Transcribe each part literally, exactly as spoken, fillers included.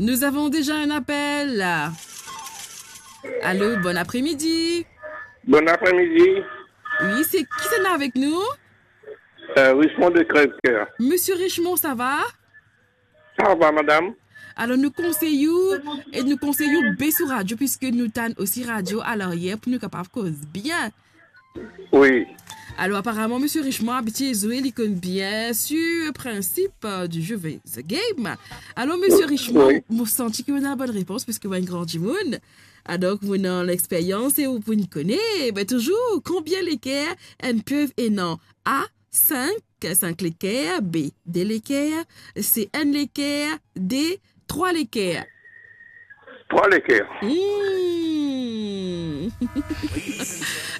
Nous avons déjà un appel. Allô, bon après-midi. Bon après-midi. Oui, c'est qui c'est là avec nous? Euh, Richemond de Crèvecoeur. Monsieur Richemond, ça va? Ça va, madame. Alors, nous conseillons et nous conseillons Bessou Radio, puisque nous t'avons aussi radio à l'arrière pour nous capables cause bien. Oui. Alors, aparaman, Monsieur Richemond, abitye zwe, li konn bien sur le principe, euh, du jeu The Game. Alors, Monsieur Richemond, oui, mo santi ki ou ena bonn repons, puisque ou enn gran dimoun. Adonk, ou ena lexperyans e ou pou kone, ben, touzour, konbien leker enn piev ena? A, sink, sink leker, B, de leker, C, enn leker, D, trwa leker. Trwa leker. Hmm.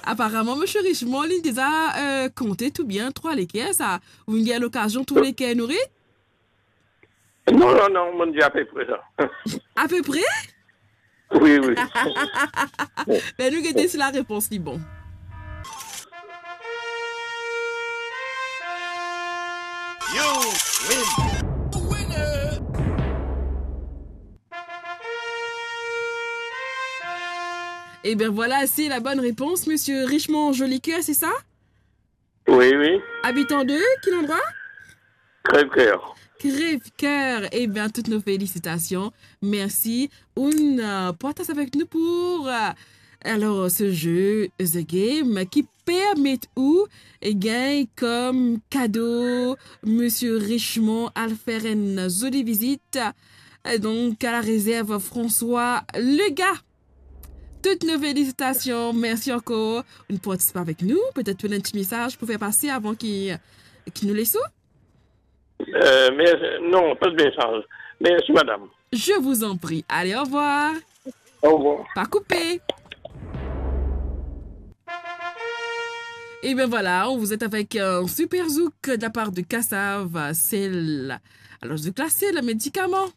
Aparaman, Monsieur Richemond, li deza, euh, konte tou bien trwa leker, sa. Ou gagn lokazion trwa leker nouri? Non, non, non, mo dir apepre sa. Apepre? Oui, oui. Ben, nou gete si larepons li bon. You win. Eh bien voilà, c'est la bonne réponse, Monsieur Richemond Jolicoeur, c'est ça? Oui, oui. Abitan de quel endroit? Crèvecoeur. Crèvecoeur. Eh bien, toutes nos félicitations. Merci. Ou, euh, pou atann avek nou pou, euh, alors, ce jeu, The Game, ki permet ou, eh, gagn kom kado, Monsieur Richemond al fer enn zoli vizit. Euh, donc, à la réserve François Lega. Toutes nos félicitations, merci encore. Ou pou partisip avek nou, petet ou ena enn ti mesaz pou fer pase avan ki, ki nou les ou? Euh, mais, non, pas de message. Merci, madame. Je vous en prie. Allez, au revoir. Au revoir. Pa koupe. Et bien voilà, on vous est avec un super zouk de la part de Kassav. C'est l-, alors, zouk la, c'est le médicament.